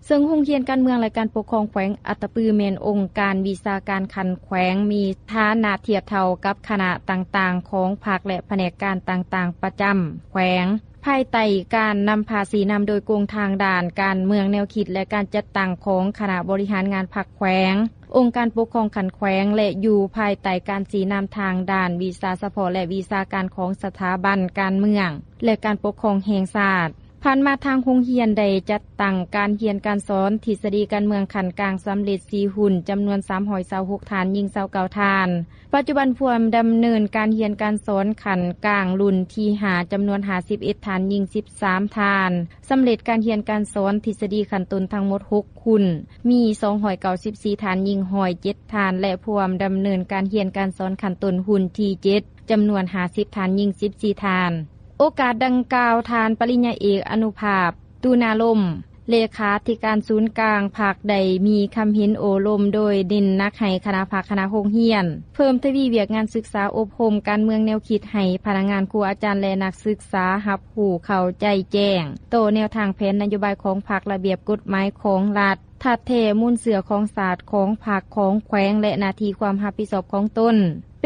ເຊິ່ງໂຮງຮຽນການເມືອງ ແລະ ການປົກຄອງແຂວງອັດຕະປື ແມ່ນອົງການວິຊາການຂັ້ນແຂວງ ມີຖານະທຽບເທົ່າກັບຄະນະຕ່າງໆຂອງພັກ ແລະ ພະແນກການຕ່າງໆປະຈຳແຂວງ ພາຍໃຕ້ການນຳພາຊີ້ນຳໂດຍກົງທາງດ້ານການເມືອງແນວຄິດ ແລະ ການຈັດຕັ້ງຂອງຄະນະບໍລິຫານງານພັກແຂວງ, ອົງການປົກຄອງຂັ້ນແຂວງ ແລະ ຢູ່ພາຍໃຕ້ການຊີ້ນຳທາງດ້ານວິຊາສະເພາະ ແລະ ວິຊາການຂອງສະຖາບັນການເມືອງ ແລະ ການປົກຄອງແຫ່ງຊາດ. ຜ່ານມາທາງໂຮງຮຽນໄດ້ຈັດຕັ້ງການຮຽນການສອນທິດສະດີການເມືອງຂັ້ນກາງສຳເລັດສີ່ຮຸ່ນ ຈຳນວນສາມຮ້ອຍຊາວຫົກທ່ານ, ຍິງຊາວເກົ້າທ່ານ. ປັດຈຸບັນຜູ້ດຳເນີນການຮຽນການສອນຂັ້ນກາງລຸ້ນທີຫ້າ ຈຳນວນຫ້າສິບເອັດທ່ານ, ຍິງສິບສາມທ່ານ. ສຳເລັດການຮຽນການສອນທິດສະດີຂັ້ນຕົ້ນທັງໝົດຫົກຮຸ່ນ, ມີສອງຮ້ອຍເກົ້າສິບສີ່ທ່ານ, ຍິງຮ້ອຍເຈັດທ່ານ ແລະ ຜູ້ດຳເນີນການຮຽນການສອນຂັ້ນຕົ້ນຮຸ່ນທີເຈັດ ຈຳນວນຫ້າສິບທ່ານ, ຍິງສິບສີ່ທ່ານ. ໂອກາດດັ່ງກ່າວ, ທ່ານ ປະລິນຍາເອກ ອະນຸພາບ ຕຸນາລົມ ເລຂາທິການສູນກາງພັກ ໄດ້ມີຄຳເຫັນໂອ້ລົມໂດຍເນັ້ນໜັກໃຫ້ຄະນະພັກ, ຄະນະໂຮງຮຽນ ເພີ່ມທະວີວຽກງານສຶກສາອົບຮົມການເມືອງແນວຄິດໃຫ້ພະນັກງານ, ຄູອາຈານ ແລະ ນັກສຶກສາຮັບຮູ້ເຂົ້າໃຈແຈ້ງຕໍ່ແນວທາງແຜນນະໂຍບາຍຂອງພັກ, ລະບຽບກົດໝາຍຂອງລັດ, ທາດແທ້ມູນເຊື້ອຂອງຊາດ, ຂອງພັກ, ຂອງແຂວງ ແລະ ໜ້າທີ່ຄວາມຮັບຜິດຊອບຂອງຕົນ.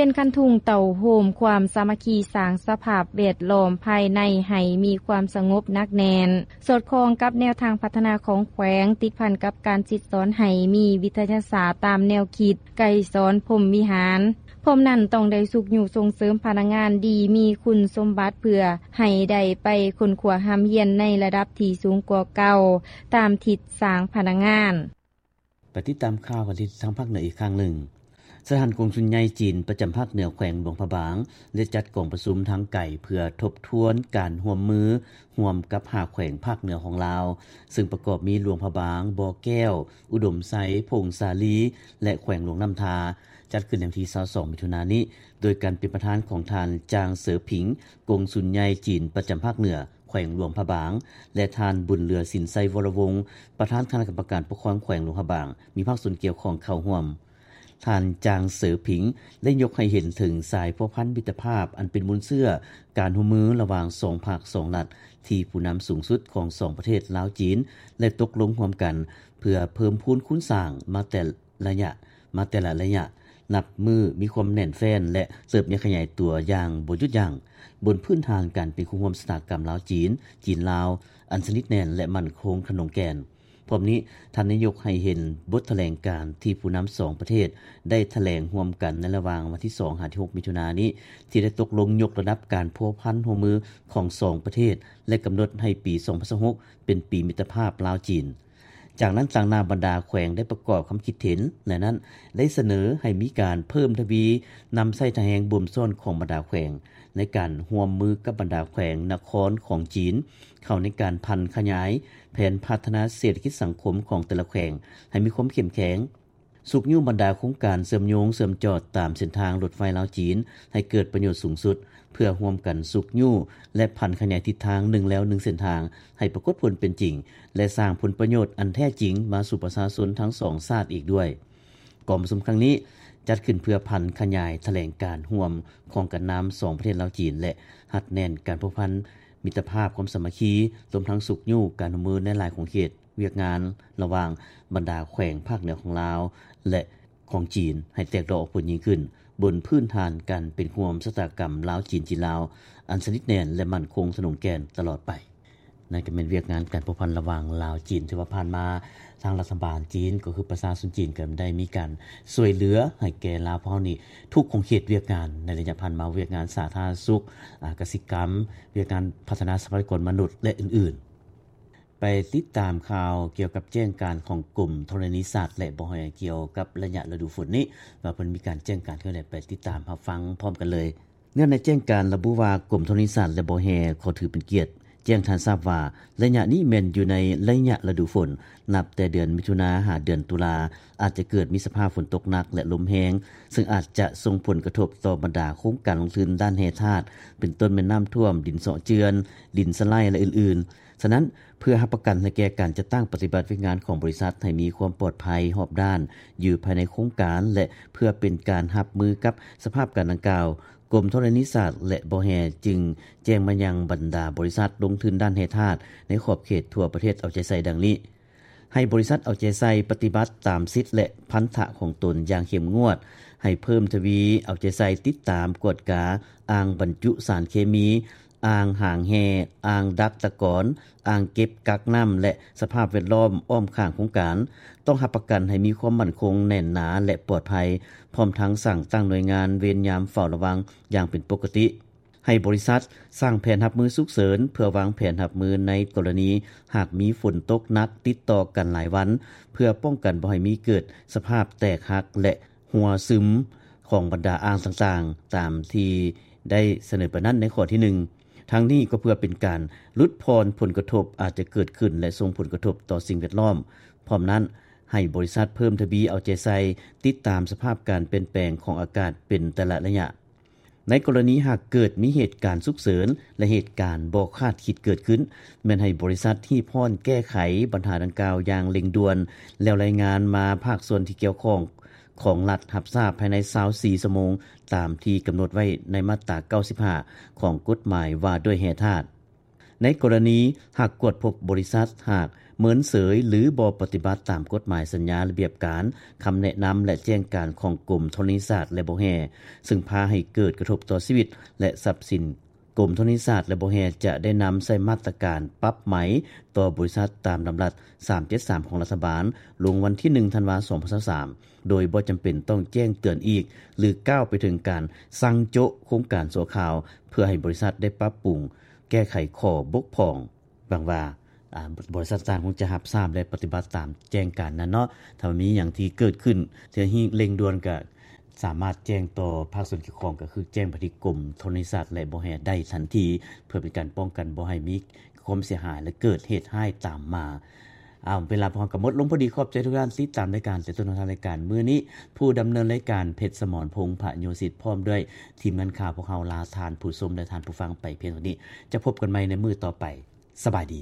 ເປັນຄັນທຸງເຕົ້າໂຮມຄວາມສາມັກຄີ, ສ້າງສະພາບແວດລ້ອມພາຍໃນໃຫ້ມີຄວາມສະຫງົບໜັກແໜ້ນ, ສອດຄ່ອງກັບແນວທາງພັດທະນາຂອງແຂວງ, ຕິດພັນກັບການສິດສອນໃຫ້ມີວິທະຍາສາດຕາມແນວຄິດໄກສອນພົມວິຫານ. ພ້ອມນັ້ນ, ຕ້ອງໄດ້ຊຸກຍູ້ສົ່ງເສີມພະນັກງານດີມີຄຸນສົມບັດ ເພື່ອໃຫ້ໄດ້ໄປຄົ້ນຄວ້າຮ່ຳຮຽນໃນລະດັບທີ່ສູງກວ່າເກົ່າ, ຕາມທິດສ້າງພະນັກງານ. ໄປຕິດຕາມຂ່າວກັນທີ່ທາງພາກເໜືອອີກຄັ້ງໜຶ່ງ. ສະຖານກົງສຸນໃຫຍ່ຈີນປະຈຳພາກເໜືອແຂວງຫຼວງພະບາງ ໄດ້ຈັດກອງປະຊຸມທາງໄກເພື່ອທົບທວນການຮ່ວມມືຮ່ວມກັບຫ້າແຂວງພາກເໜືອຂອງລາວ, ເຊິ່ງປະກອບມີຫຼວງພະບາງ, ບໍ່ແກ້ວ, ອຸດົມໄຊ, ຜົ້ງສາລີ ແລະ ແຂວງຫຼວງນ້ຳທາ, ຈັດຂຶ້ນໃນວັນທີຊາວສອງ ມິຖຸນານີ້ ໂດຍການເປັນປະທານຂອງທ່ານ ຈາງ ເສີຜິງ ກົງສຸນໃຫຍ່ຈີນປະຈຳພາກເໜືອ ແຂວງຫຼວງພະບາງ ແລະ ທ່ານ ບຸນເຫຼືອ ສິນໄຊວໍລະວົງ ປະທານຄະນະກຳມະການປົກຄອງແຂວງຫຼວງພະບາງ ມີພາກສ່ວນກ່ຽວຂ້ອງເຂົ້າຮ່ວມ. ທ່ານ ຈາງ ເສີຜິງ ໄດ້ຍົກໃຫ້ເຫັນເຖິງສາຍພົວພັນມິດຕະພາບອັນເປັນມູນເຊື້ອການຮ່ວມມືລະຫວ່າງສອງພັກສອງລັດ ທີ່ຜູ້ນຳສູງສຸດຂອງສອງປະເທດລາວ-ຈີນ ໄດ້ຕົກລົງຮ່ວມກັນ ເພື່ອເພີ່ມພູນຄູນສ້າງມາແຕ່ ໄລຍະ ມາແຕ່ລະໄລຍະ ນັບມື້ມີຄວາມແໜ້ນແຟ້ນ ແລະ ເຕີບໃຫຍ່ຂະຫຍາຍຕົວຢ່າງບໍ່ຢຸດຢັ້ງ ບົນພື້ນຖານການເປັນຄູ່ຮ່ວມຊະຕາກຳລາວ-ຈີນ, ຈີນ-ລາວ ອັນສະໜິດແໜ້ນ ແລະ ໝັ້ນຄົງຂະໜົງແກ່ນ. ພ້ອມນີ້, ທ່ານໄດ້ຍົກໃຫ້ເຫັນບົດຖະແຫຼງການທີ່ຜູ້ນຳສອງປະເທດໄດ້ຖະແຫຼງຮ່ວມກັນໃນລະຫວ່າງວັນທີສອງຫາທີຫົກ ມິຖຸນານີ້ ທີ່ໄດ້ຕົກລົງຍົກລະດັບການພົວພັນຮ່ວມມືຂອງສອງປະເທດ ແລະ ກຳນົດໃຫ້ປີສອງພັນຊາວຫົກ ເປັນປີມິດຕະພາບລາວ-ຈີນ. ຈາກນັ້ນ, ຕາງໜ້າບັນດາແຂວງໄດ້ປະກອບຄຳຄິດເຫັນ ແລະ ນັ້ນໄດ້ສະເໜີໃຫ້ມີການເພີ່ມທະວີນຳໃຊ້ທ່າແຮງບົ່ມຊ້ອນຂອງບັນດາແຂວງ ໃນການຮ່ວມມືກັບບັນດາແຂວງນະຄອນຂອງຈີນ ເຂົ້າໃນການຜັນຂະຫຍາຍແຜນພັດທະນາເສດຖະກິດສັງຄົມຂອງແຕ່ລະແຂວງໃຫ້ມີຄວາມເຂັ້ມແຂງ. ຊຸກຍູ້ບັນດາໂຄງການເຊື່ອມໂຍງເຊື່ອມຈອດຕາມເສັ້ນທາງລົດໄຟລາວ-ຈີນ ໃຫ້ເກີດປະໂຫຍດສູງສຸດ ເພື່ອຮ່ວມກັນຊຸກຍູ້ ແລະ ຜັນຂະຫຍາຍທິດທາງ ໜຶ່ງແລວໜຶ່ງເສັ້ນທາງ ໃຫ້ປາກົດຜົນເປັນຈິງ ແລະ ສ້າງຜົນປະໂຫຍດອັນແທ້ຈິງມາສູ່ປະຊາຊົນທັງສອງຊາດອີກດ້ວຍ. ກອງປະຊຸມຄັ້ງນີ້ຈັດຂຶ້ນເພື່ອຜັນຂະຫຍາຍຖະແຫຼງການຮ່ວມຂອງການນຳສອງປະເທດລາວ-ຈີນ ແລະ ຮັດແໜ້ນການພົວພັນມິດຕະພາບຄວາມສາມັກຄີ ລວມທັງຊຸກຍູ້ການຮ່ວມມືໃນຫຼາຍຂົງເຂດວຽກງານລະຫວ່າງບັນດາແຂວງພາກເໜືອຂອງລາວ ແລະ ຂອງຈີນ ໃຫ້ແຕກດອກອອກຜົນຍິ່ງຂຶ້ນ ບົນພື້ນຖານການເປັນຮ່ວມຊະຕາກຳລາວ-ຈີນ ຈີນ-ລາວ ອັນສະໜິດແໜ້ນ ແລະ ໝັ້ນຄົງທະນົງແກ່ນຕະຫຼອດໄປ. ນັ້ນກໍແມ່ນວຽກງານການພົວພັນລະຫວ່າງລາວ-ຈີນ ທີ່ວ່າຜ່ານມາທາງລັດຖະບານຈີນ ກໍຄືປະຊາຊົນຈີນ ກໍໄດ້ມີການຊ່ວຍເຫຼືອໃຫ້ແກ່ລາວພວກເຮົານີ້ ທຸກຂົງເຂດວຽກງານໃນໄລຍະຜ່ານມາ, ວຽກງານສາທາລະນະສຸກ, ອາ, ກະສິກຳ, ວຽກງານພັດທະນາຊັບພະຍາກອນມະນຸດ ແລະ ອື່ນໆ. ໄປຕິດຕາມຂ່າວກ່ຽວກັບແຈ້ງການຂອງກົມທໍລະນີສັດ ແລະ ບໍ່ແຮ່ ກ່ຽວກັບໄລຍະລະດູຝົນນີ້ ວ່າເພິ່ນມີການແຈ້ງການຄືໃດ, ໄປຕິດຕາມຮັບຟັງພ້ອມກັນເລີຍ. ເນື່ອງໃນແຈ້ງການລະບຸວ່າ ກົມທໍລະນີສັດ ແລະ ບໍ່ແຮ່ ຂໍຖືເປັນກຽດແຈ້ງທ່ານຊາບວ່າ ໄລຍະນີ້ແມ່ນຢູ່ໃນໄລຍະລະດູຝົນ, ນັບແຕ່ເດືອນມິຖຸນາຫາເດືອນຕຸລາ ອາດຈະເກີດມີສະພາບຝົນຕົກໜັກ ແລະ ລົມແຮງ, ເຊິ່ງອາດຈະສົ່ງຜົນກະທົບຕໍ່ບັນດາໂຄງການລົງທຶນດ້ານແຮ່ທາດ ເປັນຕົ້ນແມ່ນນ້ຳຖ້ວມ, ດິນເຊາະເຈື່ອນ, ດິນສະໄລ ແລະ ອື່ນໆ. ສະນັ້ນ, ເພື່ອຮັບປະກັນໃຫ້ແກ່ການຈັດຕັ້ງປະຕິບັດວຽກງານຂອງບໍລິສັດໃຫ້ມີຄວາມປອດໄພຮອບດ້ານຢູ່ພາຍໃນໂຄງການ ແລະ ເພື່ອເປັນການຮັບມືກັບສະພາບການດັ່ງກ່າວ, ກົມທໍລະນີສັດ ແລະ ບໍ່ແຮ່ ຈຶ່ງແຈ້ງມາຍັງບັນດາບໍລິສັດລົງທຶນດ້ານແຮ່ທາດໃນຂອບເຂດທົ່ວປະເທດເອົາໃຈໃສ່ດັ່ງນີ້. ໃຫ້ບໍລິສັດເອົາໃຈໃສ່ປະຕິບັດຕາມສິດ ແລະ ພັນທະຂອງຕົນຢ່າງເຂັ້ມງວດ, ໃຫ້ເພີ່ມທະວີເອົາໃຈໃສ່ຕິດຕາມກວດກາອ່າງບັນຈຸສານເຄມີ, ອ່າງຫາງແຮ່, ອ່າງດັກຕະກອນ, ອ່າງເກັບກັກນ້ຳ ແລະ ສະພາບແວດລ້ອມອ້ອມຂ້າງໂຄງການ, ຕ້ອງຮັບປະກັນໃຫ້ມີຄວາມໝັ້ນຄົງແໜ້ນໜາ ແລະ ປອດໄພ, ພ້ອມທັງສ້າງຕັ້ງໜ່ວຍງານເວນຍາມເຝົ້າລະວັງຢ່າງເປັນປົກກະຕິ. ໃຫ້ບໍລິສັດສ້າງແຜນຮັບມືສຸກເສີນ ເພື່ອວາງແຜນຮັບມືໃນກໍລະນີຫາກມີຝົນຕົກໜັກຕິດຕໍ່ກັນຫຼາຍວັນ ເພື່ອປ້ອງກັນບໍ່ໃຫ້ມີເກີດສະພາບແຕກຫັກ ແລະ ຮົ່ວຊຶມຂອງບັນດາອ່າງຕ່າງໆ ຕາມທີ່ໄດ້ສະເໜີໄປນັ້ນໃນຂໍ້ທີໜຶ່ງ. ທັງນີ້ກໍເພື່ອເປັນການຫຼຸດຜ່ອນຜົນກະທົບອາດຈະເກີດຂຶ້ນ ແລະ ສົ່ງຜົນກະທົບຕໍ່ສິ່ງແວດລ້ອມ. ພ້ອມນັ້ນ, ໃຫ້ບໍລິສັດເພີ່ມທະວີເອົາໃຈໃສ່ ຕິດຕາມສະພາບການປ່ຽນແປງຂອງອາກາດເປັນແຕ່ລະໄລຍະ. ໃນກໍລະນີຫາກເກີດມີເຫດການສຸກເສີນ ແລະ ເຫດການບໍ່ຄາດຄິດເກີດຂຶ້ນ, ແມ່ນໃຫ້ບໍລິສັດຮີບຮ້ອນແກ້ໄຂບັນຫາດັ່ງກ່າວຢ່າງເລັ່ງດ່ວນ ແລ້ວລາຍງານມາພາກສ່ວນທີ່ກ່ຽວຂ້ອງຂອງລັດຮັບຊາບພາຍໃນຊາວສີ່ຊົ່ວໂມງ ຕາມທີ່ກຳນົດໄວ້ໃນມາດຕາເກົ້າສິບຫ້າຂອງກົດໝາຍວ່າດ້ວຍແຮ່ທາດ. ໃນກໍລະນີຫາກກວດພົບບໍລິສັດຫາກເມີນເສີຍ ຫຼື ບໍ່ປະຕິບັດຕາມກົດໝາຍສັນຍາລະບຽບການ, ຄຳແນະນຳ ແລະ ແຈ້ງການຂອງກົມທໍລະນີສັດ ແລະ ບໍ່ແຮ່ ເຊິ່ງພາໃຫ້ເກີດກະທົບຕໍ່ຊີວິດ ແລະ ຊັບສິນ, ກົມທໍລະນີສັດ ແລະ ບໍ່ແຮ່ ຈະໄດ້ນຳໃຊ້ມາດຕະການປັບໃໝຕໍ່ບໍລິສັດຕາມດຳລັດສາມເຈັດສາມຂອງລັດຖະບານ ລົງວັນທີໜຶ່ງ ທັນວາ ສອງພັນຊາວສາມ ໂດຍບໍ່ຈຳເປັນຕ້ອງແຈ້ງເຕືອນອີກ ຫຼື ກ້າວໄປເຖິງການສັ່ງໂຈະໂຄງການຊົ່ວຄາວ ເພື່ອໃຫ້ບໍລິສັດໄດ້ປັບປຸງ ແກ້ໄຂຂໍ້ບົກຜ່ອງ. ຫວັງວ່າ ອາ ບໍລິສັດຕ່າງໆ ຄົງຈະຮັບຊາບ ແລະ ປະຕິບັດຕາມແຈ້ງການນັ້ນເນາະ. ຖ້າວ່າມີຫຍັງທີ່ເກີດຂຶ້ນທີ່ເລັ່ງດ່ວນ ກໍສາມາດແຈ້ງຕໍ່ພາກສ່ວນກ່ຽວຂ້ອງ ກໍຄືແຈ້ງໄປທີ່ກົມທໍລະນີສັດ ແລະ ບໍ່ແຮ່ໄດ້ທັນທີ ເພື່ອເປັນການປ້ອງກັນບໍ່ໃຫ້ມີຄວາມເສຍຫາຍ ແລະ ເກີດເຫດຮ້າຍຕາມມາ. ເອົາ ເວລາພວກເຮົາກໍໝົດລົງພໍດີ. ຂອບໃຈທຸກທ່ານທີ່ຕິດຕາມລາຍການແຕ່ຕົ້ນຮອດທ້າຍລາຍການມື້ນີ້. ຜູ້ດຳເນີນລາຍການ ເພັດສະໝອນ ພົງພະໂຍສິດ ພ້ອມດ້ວຍທີມງານຂ່າວພວກເຮົາ ລາທ່ານຜູ້ຊົມ ແລະ ທ່ານຜູ້ຟັງໄປພຽງເທົ່ານີ້. ຈະພົບກັນໃໝ່ໃນມື້ຕໍ່ໄປ. ສະບາຍດີ.